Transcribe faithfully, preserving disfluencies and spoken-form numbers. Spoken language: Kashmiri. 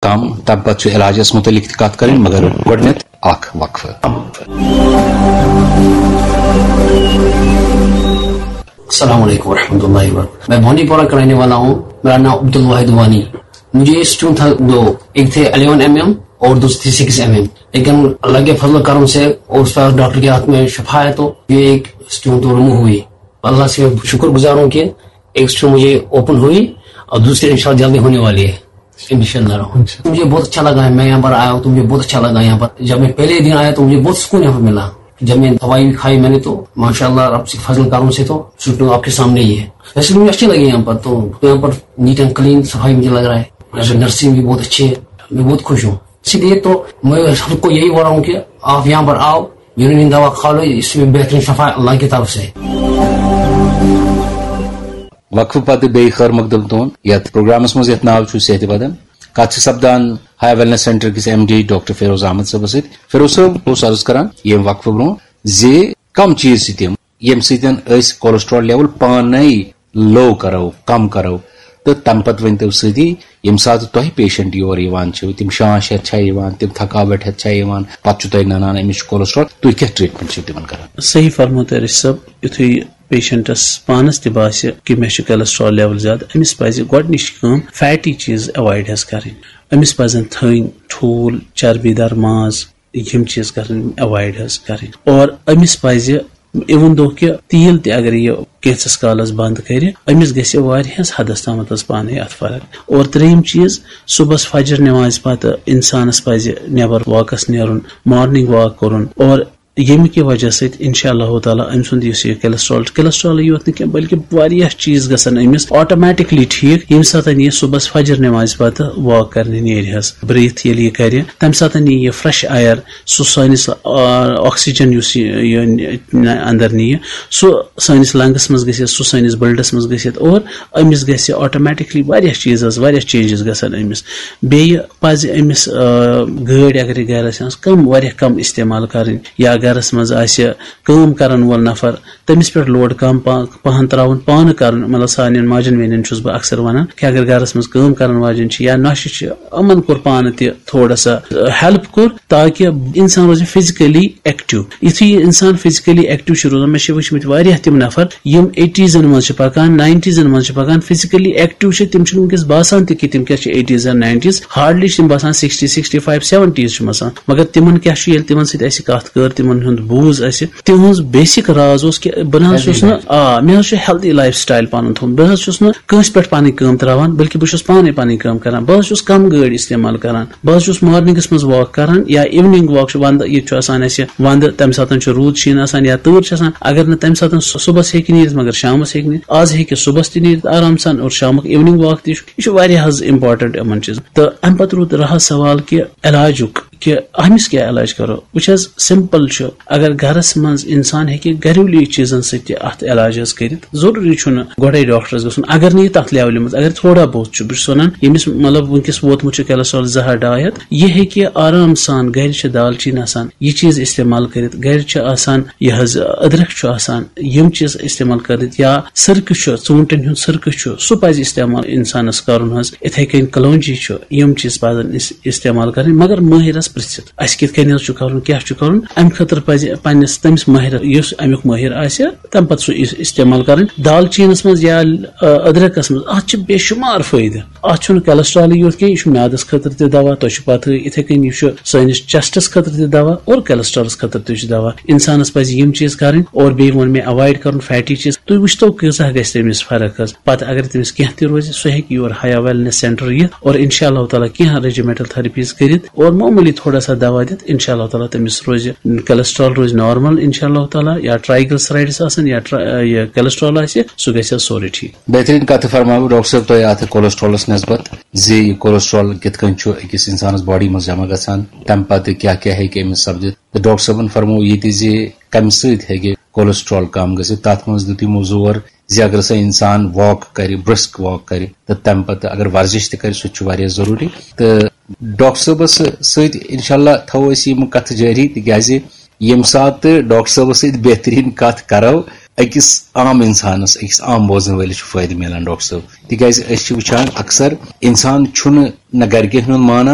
کم، تمہِ پتہٕ چھُ علاجس مُتعلق تہِ کتھ کرٕنۍ، مگر گۄڈٕنیتھ اکھ وقفہٕ۔ السلام علیکم ورحمۃ اللہ وبرکاتہ۔ میں بانڈی پورہ کا رہنے والا ہوں۔ میرا نام عبد الواحد وانی۔ مجھے اسٹون تھا دو، ایک تھے الیون ایم ایم اور دوسرے تھے سکس ایم ایم، لیکن اللہ کے فضل و کرم سے اور استاد ڈاکٹر کے ہاتھ میں شفا ہے، تو یہ ایک اسٹون تو ریموو ہوئی۔ اللہ سے میں شکر گزار ہوں کہ ایک اسٹون مجھے اوپن ہوئی اور دوسری انشاءاللہ جلدی ہونے والی ہے، انشاءاللہ۔ مجھے بہت اچھا لگا ہے، میں یہاں پر آیا ہوں تو مجھے بہت اچھا لگا یہاں پر۔ جب میں پہلے دن آیا تو مجھے بہت سکون یہاں پر ملا۔ جب میں دوائی بھی کھائی میں نے، تو ماشاءاللہ رب سے فضل کرم سے تو سکون آپ کے سامنے ہی ہے۔ ویسے مجھے اچھی لگی یہاں پر، تو یہاں پر نیٹ اینڈ کلین صفائی مجھے لگ رہا ہے، یہاں پر نرسنگ بھی بہت اچھی ہے، میں بہت خوش ہوں۔ اسی لیے تو میں سب کو یہی بول رہا ہوں کہ آپ یہاں پر آؤ، یونین دوا کھا لو، اس میں بہترین شفا اللہ کی طرف سے۔ وقفہٕ پتہٕ بیٚیہِ خٲر مقدم تُہُنٛد یتھ پروگرامس منٛز یتھ ناو چھُ صحت بدن۔ کتھ چھِ سپدان ہایا ویلنس سینٹر کِس M D doctor Feroz Ahmad صٲبس سۭتۍ۔ فیروز صٲب اوس عرض کران ییٚمہِ وقفہٕ برونٛہہ زِ کم چیٖز چھِ تِم ییٚمہِ سۭتۍ أسۍ cholesterol level پانے low کرو، کم کرو۔ تہٕ تمہِ پتہٕ ؤنۍ تو سۭتی ییٚمہِ ساتہٕ تۄہہِ پیشنٹ یور یِوان چھِو، تِم شانٛش ہٮ۪تھ چھا یِوان، تِم تھکاوٹ ہٮ۪تھ چھا یِوان، پتہٕ چھُ تۄہہِ ننان أمِس چھُ cholesterol، تُہۍ کیٛاہ ٹریٹمنٹ چھِو تِمن کران؟ صحیح فرموو تۄہہِ رشید صٲب، یُتھُے پیشنٹس پانس تہِ باسہِ کہِ مےٚ چھُ cholesterol level زیادٕ، أمِس پزِ گۄڈٕنِچ کٲم فیٹی چیٖز ایوایڈ حظ کرٕنۍ۔ أمِس پزن تھٔنۍ، ٹھوٗل، چربی دار ماز، یِم چیٖز کرٕنۍ ایوایڈ حظ کرٕنۍ۔ اور أمِس پزِ even though کہِ تیٖل تہِ اگر یہِ کینٛژس کالس بند کرِ، أمِس گژھِ واریاہس حدس تامتھ حظ پانے اتھ فرق۔ اور ترٛیٚیِم چیٖز، صبحس فجر نمازِ پتہٕ انسانس پزِ نٮ۪بر واکس نیرُن، مارننگ واک کرُن۔ اور ییٚمہِ کہِ وجہ سۭتۍ انشاء اللہ تعالیٰ أمۍ سُنٛد یُس یہِ cholesterol، cholesterol یوت نہٕ کینٛہہ بلکہِ واریاہ چیٖز گژھن أمِس آٹومیٹکلی ٹھیٖک، ییٚمہِ ساتہٕ یہِ صبحس فجر نمازِ پتہٕ واک کرنہِ نیرِ حظ، بریتھ ییٚلہِ یہِ کرِ، تمہِ ساتہٕ یی یہِ فریش ایئر، سُہ سٲنِس آکسیجن یُس یہِ یہِ اندر نِیہِ، سُہ سٲنِس لنگس منٛز گژھِ، سُہ سٲنِس بلڈس منٛز گژھِ، اور أمِس گژھِ آٹومیٹکلی واریاہ چیٖز حظ، واریاہ چینجز گژھن أمِس۔ بیٚیہِ پزِ أمِس آ، گٲڑۍ اگر یہِ گرس منٛز کم، واریاہ کم استعمال کرٕنۍ، یا گرس منٛز آسہِ کٲم کرن وول نفر، تٔمِس پٮ۪ٹھ لوڈ کم پا-، پہن تراوُن، پانہٕ کرُن۔ مطلب سانٮ۪ن ماجن بیٚنٮ۪ن چھُس بہٕ اکثر ونان کہِ اگر گرس منٛز کٲم کرن واجٮ۪ن چھِ یا نۄشہِ چھِ، یِمن کوٚر پانہٕ تہِ تھوڑا سا ہیلپ کوٚر، تاکہِ انسان روزِ فزیکلی ایکٹیو۔ یُتھُے یہِ انسان فزیکلی ایکٹیو چھُ روزان، مےٚ چھِ وٕچھمٕتۍ واریاہ تِم نفر یِم ایٹیٖزن منٛز چھِ پکان، ناینٹیٖزن منٛز چھِ پکان، فزیکلی ایکٹیو چھِ، تِم چھِنہٕ وٕنکیٚس باسان تہِ کہِ تِم کیٛاہ چھِ ایٹیٖز یا ناینٹیٖز، ہارڈلی چھِ تِم باسان سِکسٹی، سِکسٹی فایو، سیونٹیٖز چھِ باسان۔ مگر تِمن کیٛاہ چھُ، ییٚلہِ تِمن سۭتۍ اَسہِ کتھ کٔر، تِمن ہُنٛد بوٗز اَسہِ، تِہنٛز بیسک راز اوس کہِ بہٕ نہ حظ چھُس نہٕ، آ، مےٚ حظ چھُ ہیلدی لایف سٹایل پنُن تھوٚومُت، بہٕ حظ چھُس نہٕ کٲنٛسہِ پٮ۪ٹھ پنٕنۍ کٲم تراوان، بلکہِ بہٕ چھُس پانے پنٕنۍ کٲم کران، بہٕ حظ چھُس کم گٲڑۍ استعمال کران، بہٕ حظ چھُس مارننگس منٛز واک کران یا ایوننگ واک چھُ، ونٛدٕ ییٚتہِ چھُ آسان اَسہِ ونٛدٕ، تمہِ ساتہٕ چھُ روٗد شیٖن آسان یا تۭر چھِ آسان، اگر نہٕ تمہِ ساتہٕ سُہ صُبحس ہیٚکہِ نیٖرِتھ مگر شامس ہیٚکہِ نیٖرِتھ، آز ہیٚکہِ صُبحس تہِ نیٖرِتھ آرام سان اور شامُک ایوننگ واک تہِ چھُ۔ یہِ چھُ واریاہ حظ امپورٹنٹ یِمن چیٖزن۔ تہٕ امہِ پتہٕ روٗد رہا سوال کہِ علاجُک، کہِ أمِس کیٛاہ علاج کرو؟ وٕچھ حظ، سمپل چھُ، اگر گرس منٛز انسان ہیٚکہِ گریلوی چیٖزن سۭتۍ تہِ اتھ علاج حظ کٔرِتھ، ضروٗری چھُنہٕ گۄڈے ڈاکٹرس گژھُن۔ اگر نہٕ یہِ تتھ لیولہِ منٛز، اگر تھوڑا بہت چھُ، بہٕ چھُس ونان ییٚمِس مطلب وٕنکیٚس ووتمُت چھُ cholesterol زٕ ہتھ ڈاے ہتھ، یہِ ہیٚکہِ آرام سان، گرِ چھِ دالچیٖن آسان، یہِ چیٖز استعمال کٔرِتھ، گرِ چھِ آسان یہِ حظ أدرکھ چھُ آسان، یِم چیٖز استعمال کٔرِتھ، یا سرکہٕ چھُ، ژوٗنٛٹھٮ۪ن ہُنٛد سرکہٕ چھُ، سُہ پزِ استعمال انسانس کرُن حظ۔ اِتھے کٔنۍ کلونجی چھُ، یِم چیٖز پزن أسۍ استعمال کرٕنۍ، مگر مٲہرس پرژھِتھ اسہِ کِتھ کٔنۍ حظ چھُ کرُن، کیٛاہ چھُ کرُن، امہِ خٲطرٕ پزِ پننِس تٔمِس مٲہرس، یُس امیُک مٲہر آسہِ، تمہِ پتہٕ سُہ اس-، استعمال کرٕنۍ۔ دالچیٖنس منٛز یا، آ، أدرکس منٛز، اتھ چھِ بے شُمار فٲیدٕ۔ اتھ چھُنہٕ cholesterolٕے یوت کینٛہہ، یہِ چھُ میادس خٲطرٕ تہِ دوا، تۄہہِ چھُ پتہٕے، اِتھے کٔنۍ یہِ چھُ سٲنِس chestس خٲطرٕ تہِ دوا اور cholesterolس خٲطرٕ تہِ چھُ دوا۔ انسانس پزِ یِم چیٖز کرٕنۍ اور بیٚیہِ ووٚن مےٚ avoid کرُن fatty چیٖز۔ تُہۍ وٕچھتو کۭژاہ گژھِ تٔمِس فرق حظ۔ پتہٕ اگر تٔمِس کینٛہہ تہِ روزِ، سُہ ہیٚکہِ یور ہایا ویلنس سینٹر یِتھ اور انشاء اللہ تعالیٰ کینٛہہ regimental therapies کٔرِتھ اور معموٗلی تھوڑا سا دوا دِتھ، انشاء اللہ تعالیٰ تٔمِس روزِ cholesterol روزِ normal انشاء اللہ تعالیٰ، یا triglycerides آسن یا ٹرا-، یہِ cholesterol آسہِ، سُہ گژھِ حظ سورُے ٹھیٖک۔ بہترین کتھ فرماوٕ ڈاکٹر صٲب تۄہہِ اتھ cholesterolس نسبت زِ یہِ cholesterol کِتھ کٔنۍ چھُ أکِس انسانس باڈی منٛز جمع گژھان، تمہِ پتہٕ کیٛاہ کیٛاہ ہیٚکہِ أمِس سپدِتھ۔ تہٕ ڈاکٹر صٲبن فرموو یہِ تہِ زِ کمہِ سۭتۍ ہیٚکہِ cholesterol کم گٔژھِتھ۔ تتھ منٛز دیُت یِمو زور زِ اگر سا انسان واک کرِ، brisk walk کرِ، تہٕ تمہِ پتہٕ اگر ورزش تہِ کرِ، سُہ تہِ چھُ واریاہ ضروٗری۔ تہٕ ڈاکٹر صٲبس سۭتۍ انشاءاللہ تھاوو أسۍ یِم کتھٕ جٲری، تِکیازِ ییٚمہِ ساتہٕ تہٕ ڈاکٹر صٲبس سۭتۍ بہتریٖن کتھ کرو، أکِس عام اِنسانَس، أکِس عام بوزَن وٲلِس چھُ فٲیدٕ میلان، ڈاکٹر صٲب؟ تِکیٛازِ أسۍ چھِ وٕچھان اکثر اِنسان چھُنہٕ نہ گرِکٮ۪ن ہُنٛد مانان،